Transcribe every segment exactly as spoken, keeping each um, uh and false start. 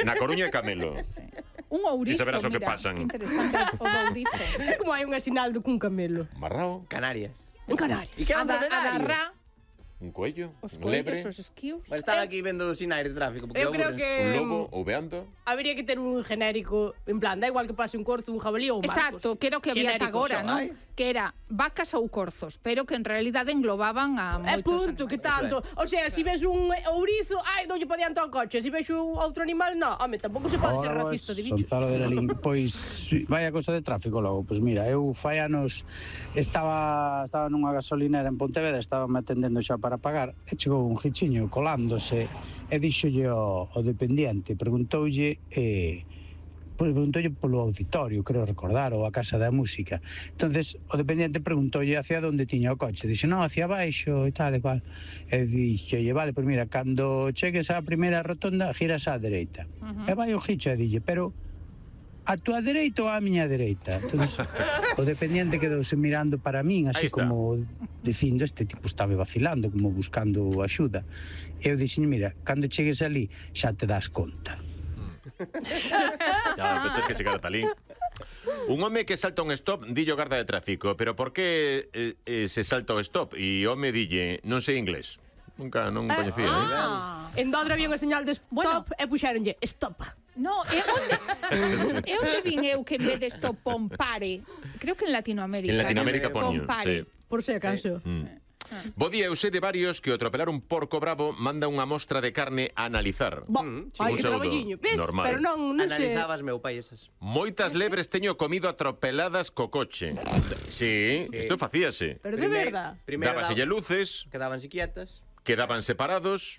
Na Coruña é camelo. Un ourizo, E saberás o que mira, pasan. que interesante o do ourizo. Como hai unha sinal do cun camelo. Marrao, Canarias. En Canarias. E que é A un da, a da dromedario? ra, un coello, os un lebre, coellos, os esquios. Bueno, estaba aquí vendo os sinais de tráfico porque Eu creo aburres. que un lobo, ouveando. habría que ter un genérico, en plan, da igual que pase un corzo, un jabalí ou un marcos. Exacto, que era o que había ata Genérico agora, só, non? ai. Que era vacas ou corzos, pero que en realidade englobaban a É moitos punto, que animais. tanto. O sea, se si ves un ourizo, ai, doulle pa diante ao coche. Se si ves outro animal, no. Home, tampouco se pode ser racista de bichos. Gonzalo de Lalín, pois vai a cosa de tráfico logo. Pois mira, eu fai anos estaba estaba nunha gasolinera en Pontevedra, estaba me atendendo xa para pagar, e chegou un gichiño colándose e díxolle ao, ao dependiente, preguntoulle eh, preguntoulle polo auditorio, creo recordar, ou a Casa da Música. Entonces o dependiente preguntoulle hacia onde tiña o coche. Dixe, non, hacia baixo e tal e cual. E dixolle, vale, pois mira, cando chegues á primeira rotonda, giras á dereita. Uh -huh. E vai o gicho e dille, pero a túa dereita ou a miña dereita? Entonces, o dependiente quedouse mirando para min, así como dicindo, este tipo estaba vacilando, como buscando axuda. E eu dixen, mira, cando chegues ali, xa te das conta. Ya, pero tens que chegar ata ali. Un home que salta un stop, dillo garda de tráfico, pero por que eh, eh, se salta o stop? E o home dille, non sei inglés. Nunca, non coñecía. Ah, en Dodra había unha señal de stop Bueno. e puxéronlle stop. No, e onde, e onde vin eu que en vez de stop pon pare? Creo que en Latinoamérica. En Latinoamérica ¿no? poño, Pon pare. sí. Por si acaso. Mm. Bo día, eu sei de varios que ao atropelar un porco bravo manda unha mostra de carne a analizar. Bo, Mm, ai, un que pseudo traballiño. Ves? normal. Pero non, non sei. Analizabas meu pai esas. Moitas lebres teño comido atropeladas co coche. Sí, isto facíase. Pero de Primeiro- verdad. Primeiro Dábaselle daba- luces, Quedabanse quietas. quedaban separados,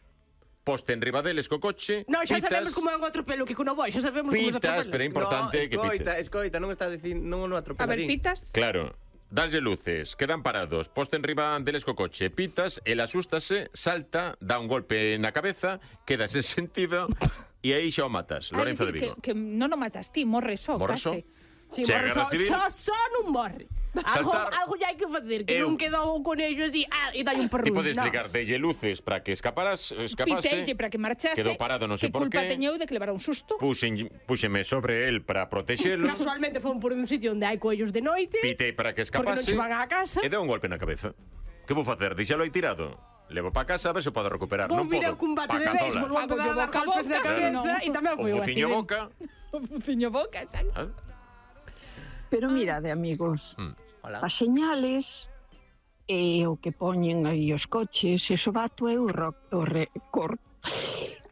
poste en riba deles co coche, Non, xa pitas, sabemos como é un atropelo que con o boi, xa sabemos como se pitas, atropela. pero é importante no, que escoita, pite. escoita, non está dicindo, non o A ver, atropeladín. pitas. Claro, daslle luces, quedan parados, poste en riba deles co coche, pitas, el asústase, salta, dá un golpe na cabeza, queda sen sentido e aí xa o matas. Ah, Lorenzo de decir, Vigo. que, que non o matas ti, morre só, Morre só? case. Sí, Chega morre a só, recibir- só, só non morre. Algo, Saltar- algo ya hai que facer, que Eu- non quedou o conello así, ah, e dai un perrús. Ti podes no. explicar, delle luces para que escaparas, escapase, Pitelle para que marchase. quedou parado non sei que por culpa qué, teñeu de que levara un susto. puxen, puxeme sobre el para protexelo, Casualmente fomos por un sitio onde hai coellos de noite. pitei para que Porque non escapase che van á casa. e deu un golpe na cabeza. Que vou facer? Dixelo aí tirado. Levo para casa a ver se o podo recuperar. Vou Non vir podo. ao combate Pa de cazola. béisbol, vou empezar a Fago dar boca a golpes na boca, cabeza non. e tamén O foi un fociño accidente. boca. O fuciño boca, exacto. Ah, Pero mirade, amigos, Mm. Hola. as señales e o que poñen aí os coches, eso bato eu o, o récord.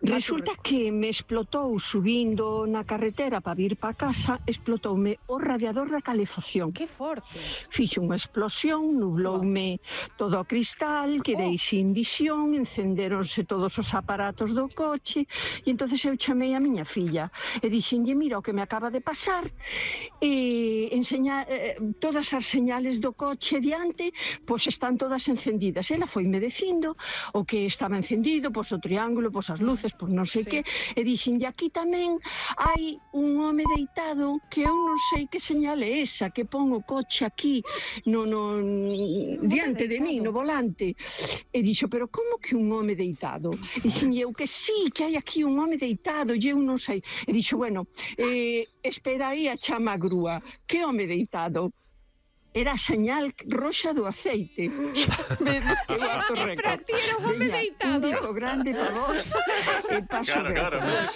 Resulta que me explotou subindo na carretera para vir para casa, explotoume o radiador da calefacción. Que forte. Fixo unha explosión, nubloume todo o cristal, quedei sin visión, encendéronse todos os aparatos do coche, e entonces eu chamei a miña filla e dixenlle, mira o que me acaba de pasar, e enseña, eh, todas as señales do coche diante, pois están todas encendidas. Ela foime dicindo o que estaba encendido, pois o triángulo, pois as luces, pois non sei Sí. que, e dixenlle, aquí tamén hai un home deitado que eu non sei que señal é esa, que pon o coche aquí no, no diante de mí, no volante. E dixo, pero como que un home deitado? E dixenlle eu que sí, que hai aquí un home deitado, e eu non sei. E dixo, bueno, eh, espera aí a chama a grúa. Que home deitado? Era a señal roxa do aceite. Vedes que bato E para récord. ti era un home Veña, deitado. Un bico grande para vos e paso Claro, claro, récord. ves?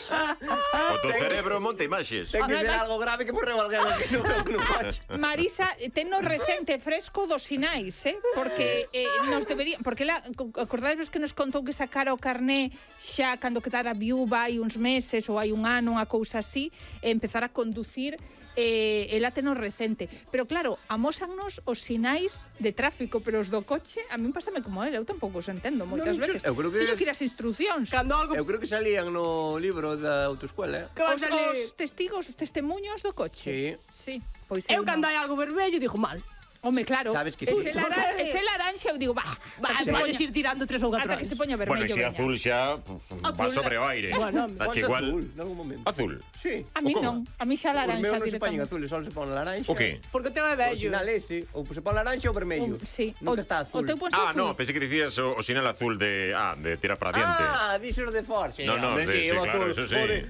O teu cerebro monta imaxes. Ten que ser Además- algo grave que morreu alguén aquí no, no coche. Marisa, tenno recente fresco dos sinais, eh? Porque eh, nos debería, porque la acordades que nos contou que sacara o carné xa cando quedara viúva hai uns meses ou hai un ano, unha cousa así, e empezar a conducir eh, ela teno recente. Pero claro, amósannos os sinais de tráfico, pero os do coche, a min pásame como ele, eu tampouco os entendo moitas Non, veces. eu creo que- Teño que ir as instruccións. Cando algo Eu creo que salían no libro da autoescuela, eh? que vai Os, salir... os testigos, os testemunhos do coche. Sí. Pois Eu non. cando hai algo vermello digo mal. Home, claro. Sabes que ese, sí. lara, ese laranxa, eu digo, bah, Va, ata que se podes poña- ir tirando tres ou catro ata que anos. se poña Bueno, vermello. e se veña. azul xa puf, va Azul, sobre o aire. Bueno, Dache Ponte igual. azul, nalgún momento. Azul. Sí. A mí O como? non, a mí xa Os laranxa meus non se poñen directamente. azules, só se pon laranxa. O que? Porque o teu é O bello. sinal ese, ou se pon laranxa ou vermello. O- sí. Nunca O- está azul. O teu ponse Ah, azul. no, pensé que dicías o, o sinal azul de, ah, de tirar para diante. Ah, díxenos de Forge. No, no, Hombre, de- sí, o claro, azul, eso sí. o de